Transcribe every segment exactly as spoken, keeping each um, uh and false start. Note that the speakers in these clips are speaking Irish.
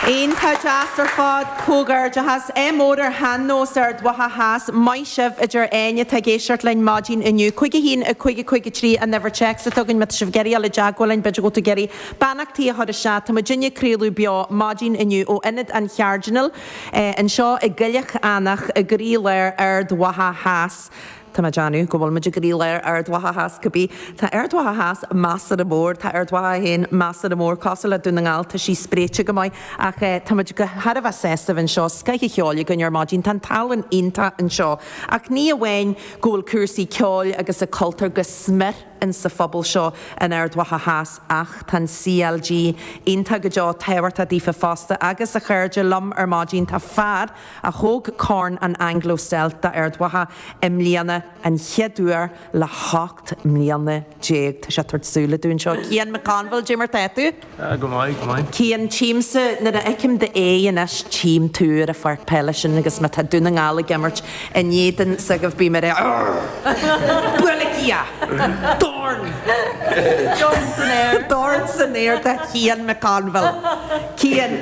Iontach deas ar fad comhghairdeachas é mór ar shean-nós Ard Mhacha Theas maith sibh a deir éinne atá ag éisteacht linn maidin inniu. Cúig a haon a cúig a cúig a trí an uimhir téacs atá againn má tá sibh ag iarraidh dul i dteagmháil linn b'fhéidir go bhfuil tú ag iarraidh beannachtaí a chur isteach. Tá muidinne ag craoladh beo maidin inniu ó Ionad an Chairdinéil anseo i gCoilleach Eanach i gcroílár Ard Mhacha Theas. Tá mé ag déanamh go bhfuil muid i gcroílár Ard Mhacha Theas cibé. Tá Ard Mhacha Theas measartha mór, tá Ard Mhacha féin measartha mór, cosúil le Dún na nGall, tá sí spréite go maith ach tá muid go thar a bheith sásta anseo, scoth an cheoil againn ar maidin, tá an tallann iontach anseo. Ach ní amháin go bhfuil cúrsaí ceoil agus a cultúr go smior in sa phobal seo in Ard Mhacha Theas ach tá an CLG iontach go deo tábhachtach daofa fosta agus a chairde liom ar maidin tá fear a thóg Corn an Anglo Celt d'Ard Mhacha i mbliana an chéad uair le hocht mbliana déag. Tá sé ag tabhairt súile dúinn seo. Cian McConville, Cad é mar tá tú? Go maith, go maith. Cian tchímse nuair a fheicim d'aghaidh anois tchím tú ar an pháirc peile sin agus má tá Dún na nGall ag imirt in éadan s'agaibh bím ar Buailfidh Dorn! Dorn san aer. Dorn san aer do Chian McConville. Cian,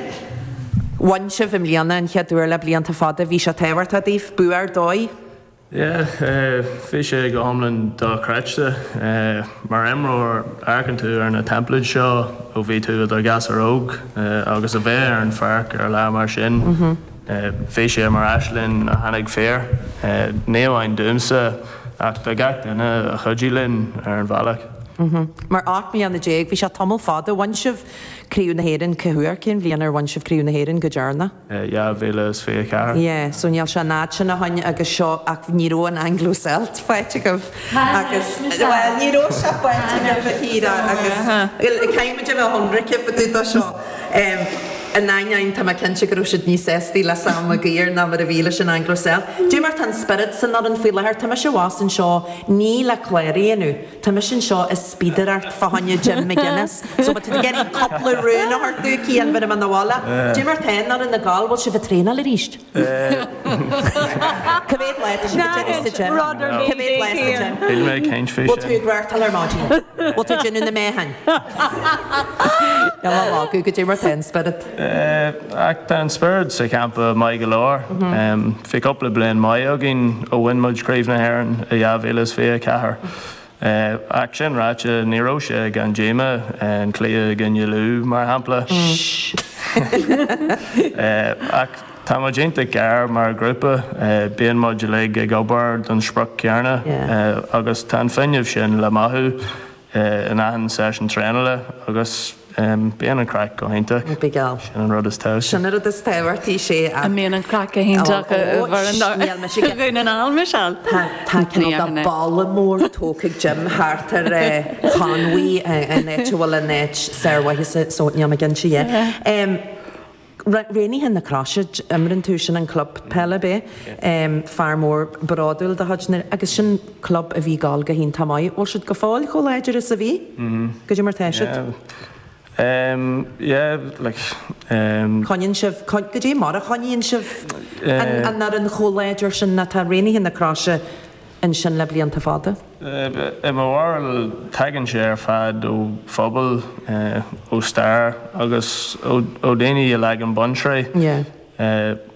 bhain sibh i mbliana an chéad uair le blianta fada, bhí sé tábhachtach daoibh, bua ar dóigh? Yeah, bhí sé go hiomlán dochreidte. Mar imreoir amharcann tú ar na teimpléid seo ó bhí tú i do ghasúr óg agus a bheith ar an pháirc ar lá mar sin. Bhí sé mar aisling a tháinig fíor. Ní amháin domsa ach do gach duine a chuidigh linn ar an bhealach. Mar ocht mbliana déag, bhí sé tamall fada. Bhain sibh Craobh na hÉireann cá huair, cén bhliain ar bhain sibh Craobh na hÉireann go deireanach? Dhá mhíle is fiche ceathair. Yeah, so níl sé an fhad sin ó shin agus seo ach ní raibh an Anglo Celt faighte agaibh agus well ní raibh sé faighte agaibh a Chiara agus caithfidh muid a bheith ionraice fá dtaobh de seo. In ainneoin tá mé cinnte go raibh siad níos sástaí le Sam Maguire ná mar a bhí leis an Anglo Celt. Cad é mar tá an spiorad san fhoireann faoi láthair, tá mise abhus anseo ní le clár a dhéanamh, tá mise anseo ag spíodaireacht fá choinne Jim McGuinness. So má tá tú ag iarraidh cúpla rún a thabhairt domh Cian bheir mé na bhaile. Cad é mar tá an fhoireann ag gabháil, bhfuil sibh ag traenáil arís? Cá mhéad lá tá sibh ag déanamh sa gym? Cá mhéad lá sa gym? Níl mé ag caint faoi Bhfuil tú sin. ag reáchtáil ar maidin? Bhfuil tú ag déanamh na meáchain? Níl mé magadh, cad é mar tá an spiorad. Ach tá an spiorad sa champa maith go leor. Bhí cúpla bliain maith againn ó bhain muid Craobh na hÉireann i dhá mhíle is fiche ceathair. Ach sin ráite ní raibh sé gan díomá an cluiche i gcoinne Lú mar shampla. Ach tá muid iontach gar mar ghrúpa, bíonn muid uilig ag obair don sprioc céanna agus tá an fuinneamh sin le mothú in achan seisiún traenála agus bíonn an craic go hiontach. Big Sin an rud is tábhachtaí. Sin an rud is tábhachtaí sé An mbíonn an craic go hiontach Níl mise Dhún na nGall Michelle. Tá cineál de balla mór tógtha ag Jim thart ar Conwy an áit a bhfuil an áit sármhaitheasa so níl mé cinnte yeah. Raonaithe na Croise imríonn tú sin an club peile bé fear mór bródúil de chuid na agus sin club a bhí ag gabháil go hiontach maith. Bhfuil siad go fóill chomh láidir is a bhí? Cad é mar tá siad? Um, yeah, like, um, Coinníonn sibh cad é mar a choinníonn sibh an an fhoireann chomh láidir sin atá Raonaithe na Croise ansin le blianta fada? I mo bharúil tagann sé ar fad ó phobal, ó stair agus ó daoine a leagann bunsraith. Yeah.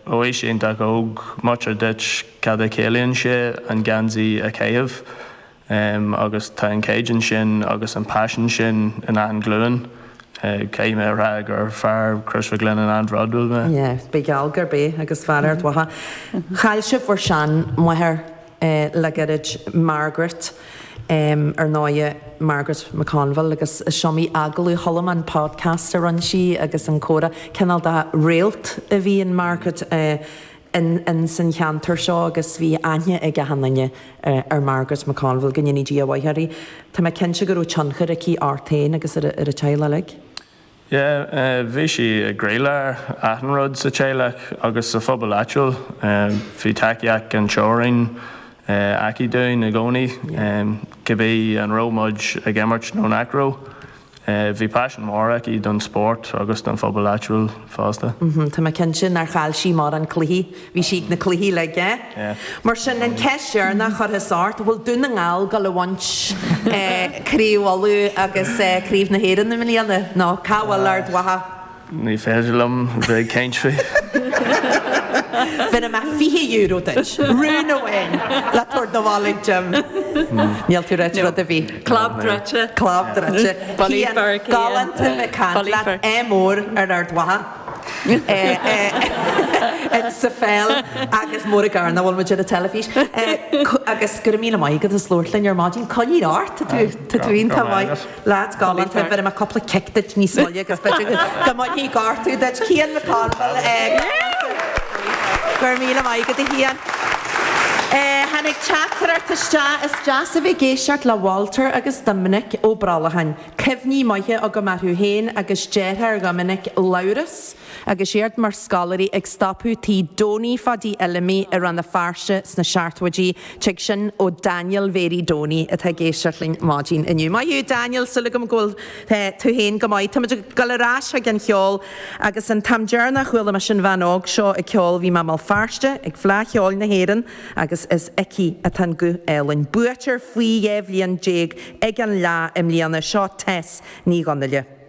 Ó aois iontach óg, múintear duit cad a chiallaíonn sé an geansaí a chaitheamh agus tá an caighdeán sin agus an paisean sin in achan ghlúin. Caithfidh mé a rá gur fear Crois Mhic Lionnáin an-bhródúil mé. Yeah, bí geall gurb é agus fear Ard Mhacha. Chaill sibh bhur seanmháthair le gairid Margaret ar ndóigh Margaret McConville agus is iomaí agallamh chuala mé an podcast a rinne sí agus an comhrá cineál de réalt a bhí in Margaret in in san cheantar seo agus bhí aithne ag achan duine ar Margaret McConville go ndéana Dia a mhaith uirthi. Tá mé cinnte go raibh tionchar aici ort féin agus ar ar a teaghlach uilig. Yeah, bhí sí i gcroílár achan rud sa teaghlach agus sa phobal áitiúil. Bhí tacaíocht gan teorainn aici dúinn i gcónaí, cibé an raibh muid ag imirt nó nach raibh. Bhí paisean mór aici don spórt agus don phobal áitiúil fosta. Tá mé cinnte nár chaill sí mórán cluichí, bhí sí ag na cluichí uilig, eh? Mar sin, an ceist dheireanach curtha ort, bhfuil Dún na nGall ag gabháil a bhaint Craobh Uladh agus Craobh na hÉireann i mbliana nó cá bhfuil Ard Mhacha? Ní féidir liom bheith ag caint faoi. Bhéarfaidh mé fiche euro duit, rún amháin le tabhairt 'na bhaile ag Jim. Níl tú ag ráit rud ar bith. Clab druidte. Clab druidte. Cian, galánta bheith ag caint leat, ádh mór ar Ard Mhacha. Sa pheil agus mór i gcarr nach bhfuil muid ar an teilifís. Agus go raibh míle maith agat as labhairt linn ar maidin. Coinnigh ort, tá tú tá tú iontach maith. Leads galánta, bhéarfaidh mé cúpla cic duit níos moille agus b'fhéidir go mbainfidh gortú duit. Cian McConville, go raibh míle maith agat a Chian. Tháinig teachtaireacht isteach, is deas a bheith ag éisteacht le Walter agus Doimnic Ó Brollacháin. Cuimhní maithe agam orthu féin agus deartháir Dhoiminic, Labhrás, agus iad mar scoláirí ag stopadh tí Donie Pháidí Fheilimí i Rann na Feirste sna seachtóidí. Tig sin ó Daniel Mhéirí Donie atá ag éisteacht linn maidin inniu. Maith thú Daniel, súil agam go bhfuil tú féin go maith. Táimid ag dul ar ais chuig an cheol agus an t-am deireanach a chuala mise an bhean óg seo ag ceol bhí mé i mBéal Feirste ag Fleadh Cheoil na hÉireann agus is aici atá an guth álainn. Buaiteoir faoi dhá bhliain déag ag an Fhleadh i mbliana. Seo Tess Ní Dhonnaile.